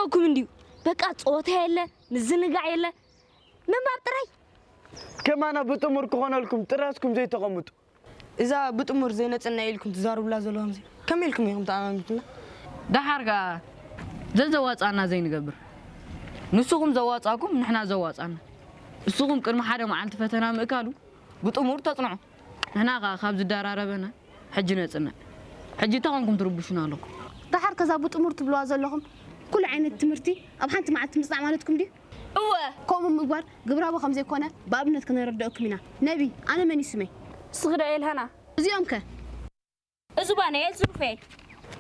እኩም እንዲዩ በቃ ጸወታ የለ ምዝንጋዕ የለ ምንባብ ጥራይ። ከማና ብጥሙር ክኾነልኩም ጥራስኩም ዘይተቐምጡ። እዛ ብጥሙር ዘይነጽና ኢልኩም ትዛረቡላ ዘለኹም ከመይ ኢልኩም ኢኹም ተኣማሚትና? ደሓር ከኣ ዘዘዋጻና ዘይንገብር ንስኹም ዘዋጻኩም ንሕና ዘዋጻና። ንስኹም ቅድሚ ሓደ መዓልቲ ፈተና ምእካሉ ብጥሙር ተጽንዑ። ንሕና ከኣ ካብ ዝደራረበና ሕጂ ነጽንዕ። ሕጂ እንታይ ኮንኩም ትርብሹና ኣለኹም? ደሓር ከዛ ብጥሙር ትብልዋ ዘለኹም ኩሉ ዓይነት ትምህርቲ ኣብ ሓንቲ መዓልቲ ምጽናዕ ማለትኩም ድዩ? እወ ከምኡ ምግባር ግብራዊ ከም ዘይኮነ ብኣብነት ከነረድአኩም ኢና። ነቢ፣ ኣነ መን እዩ ስመይ? ስኽዳ ኤልሃና እዚኦም ከ? እዙ ባናኤል ዝሩፋኤል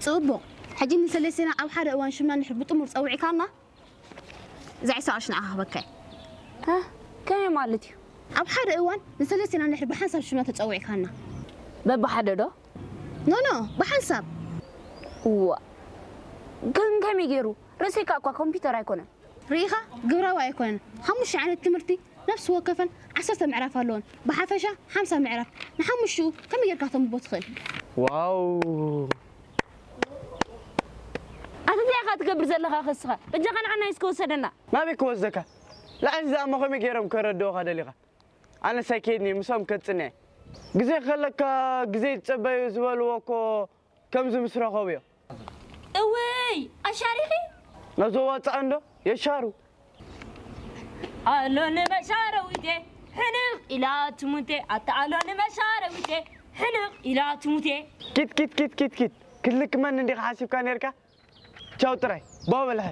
ጽቡቕ። ሕጂ ንሰለስቴና ኣብ ሓደ እዋን ሽምና እንድሕር ብጥሙር ጸዊዕካና እዛ ዒስራ ቅርሺ ንዓኻ ክበካ እየ። ከመይ ማለት እዩ? ኣብ ሓደ እዋን ንሰለስቴና እንድሕር ብሓንሳብ ሽምና ተጸዊዕካና በብሓደ ዶ? ኖ ኖ ብሓንሳብ እዋ ግን ከመይ ገይሩ ርእሰይካ እኳ ኮምፒውተር ኣይኮነን ርኢኻ ግብራዊ ኣይኮነን። ሓሙሽተ ዓይነት ትምህርቲ ነፍሲ ወከፈን ዓሰርተ ምዕራፍ ኣለወን። ብሓፈሻ ሓምሳ ምዕራፍ ንሓሙሽኡ ከመይ ጌርካ ተንብቦ ትኽእል? ዋው ኣቲ እንታይ ኢኻ ትገብር ዘለኻ ከስኻ በጃኻ ንዓና እስከ ወሰደና ናበይ ክወስደካ? ልዕሊ እዚኣ እሞ ከመይ ገይሮም ከረድኡኻ ደሊኻ? ኣነስ ኣይከይድን እየ፣ ምሶም ከጽንዕ። ግዜ ከለካ ግዜ ዝጸበዩ ዝበልዎ እኮ ከምዚ ምስ ረኸቡዮ። እውይ ኣሻሪኺ ነዞ ዋጻእ እንዶ የሻሩ። ኣሎ ንመሻረዊቴ ሕንቕ ኢላ ትሙቴ ኣታ ኣሎ ንመሻረዊቴ ሕንቕ ኢላ ትሙቴ ኪት ኪት ኪት ኪት ኪት ክትልክመኒ እንዲኻ ሓሲብካ ነርካ? ቻው ጥራይ ባው በልሐ።